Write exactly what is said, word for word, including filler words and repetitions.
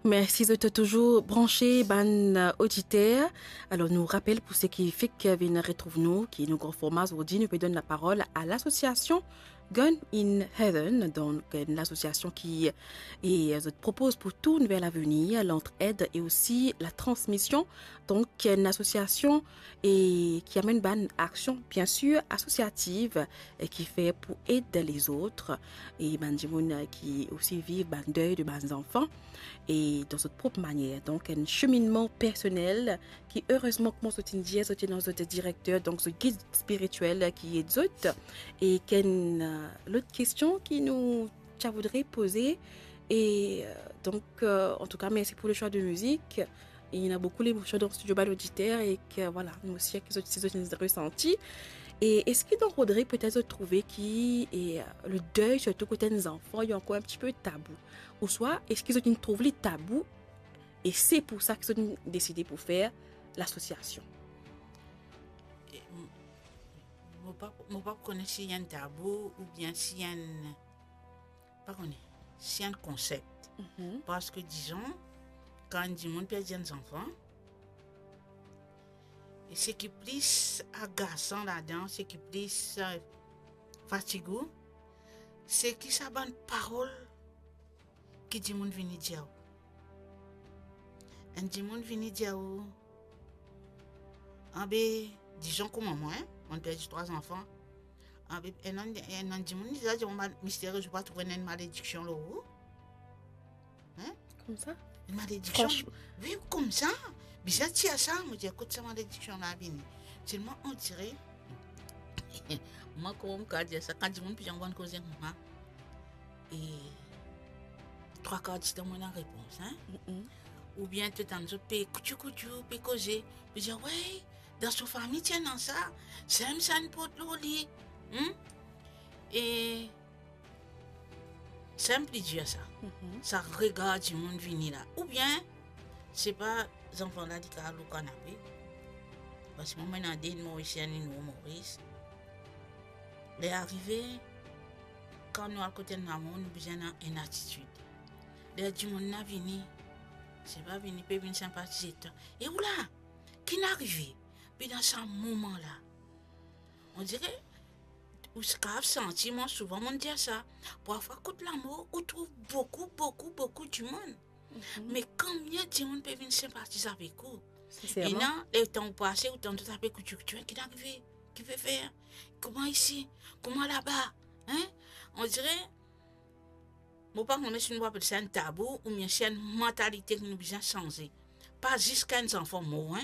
Mersi, zot touzour branse, bann, euh, oditer. Alor, nou rapel pou seki fek vinn retrouv nou, ki nou gran forma zordi, nou pe donn laparol a lasosiasion Gun in Heaven, donk enn lasosiasion ki, e, zot propoz pou tou nouvel avenir, lantred e osi latransmision. Donk, enn lasosiasion e ki amenn bann aksion, bien sir, asosiativ, e ki fer pou ed lezot, e bann dimoun, e, ki osi viv bann dey de bann zanfan, e dan zot prop manier. Donk, enn seminnman personel ki, erezman, kouma zot inn dir, zot ena zot direkter, donk zot gid spiritiel ki ed zot, e ki enn, e, lot kestion ki nou ti a voudre poze, e, e, donk, e, antouka, mersi pou le swa de mizik. Ena boukou lemosion dan studio bann oditer e ki, vwala, nou sir ki zot, si zot inn resanti. E eski dan Rodrig, petet zot trouve ki, e, le dey, sirtou kot enn zanfan, li ankor enn tipe tabou? Ouswa eski zot inn trouv li tabou e se pou sa ki zot inn deside pou fer lasosiasion? E, m-, mo pa, mo pa kone si enn tabou oubien si enn, pa kone, si enn konsep. Mhm. Parski, dizon, kan enn dimoun perdi enn zanfan, e seki plis agasan ladan, seki plis, e, fatig ou, seki sa bann parol ki dimoun vini dir ou. Enn dimoun vini dir ou, anbe, dizon kouma mwa, en, mo'nn perdi trwa zanfan. Anbe, enn, enn, enn dimoun, li dir mwa, "Mister, ou pa trouv enn malediksion lor ou?" En? Koumsa? Enn malediksion? Franchman. Wi, koumsa. Bizin tir sa, mo dir, kot sa malediksion la vini? Telman, on dirait, mwa, kouma mo kav dir sa, kan dimoun pe dir bann koze koumsa, e trwa kar ditan mo ena repons, en? Mm-mm. Oubien to tann zot pe koutou koutou, pe koze, pe dir, "Wey, dan so fami ti ena sa, sa enn sa inn port lor li." Hmm? E sa enn pli dir sa. Mhm. Sa regar dimoun vini la. Oubien, se pa zanfan la, li kav lor kanape. Parski mwa, mo ena de, enn Morisien, enn Moris. Ler arive, kan nou al kot enn lamour, nou bizin ena enn atitid. Ler dimoun la vini, se pa vini, pe vinn sinpatize twa. E ou la, ki'nn arive? Pe dan sa moman la, on dirait, ou kav santi, mwa souvan mo'nn dir sa, parfwa kot lamor, ou trouv boukou, boukou, boukou dimoun. Mhm. Me konbien dimoun pe vinn sinpatiz avek ou? Sinserman. Ena, letan ou pase, ou tann zot ape koutou koutou, ki'nn arive? Ki pe fer? Kouma isi? Kouma laba? En? On dirait, mo pa kone si nou apel sa enn tabou oubien si enn mantalite ki nou bizin sanze. Pa zis kan enn zanfan mor, en.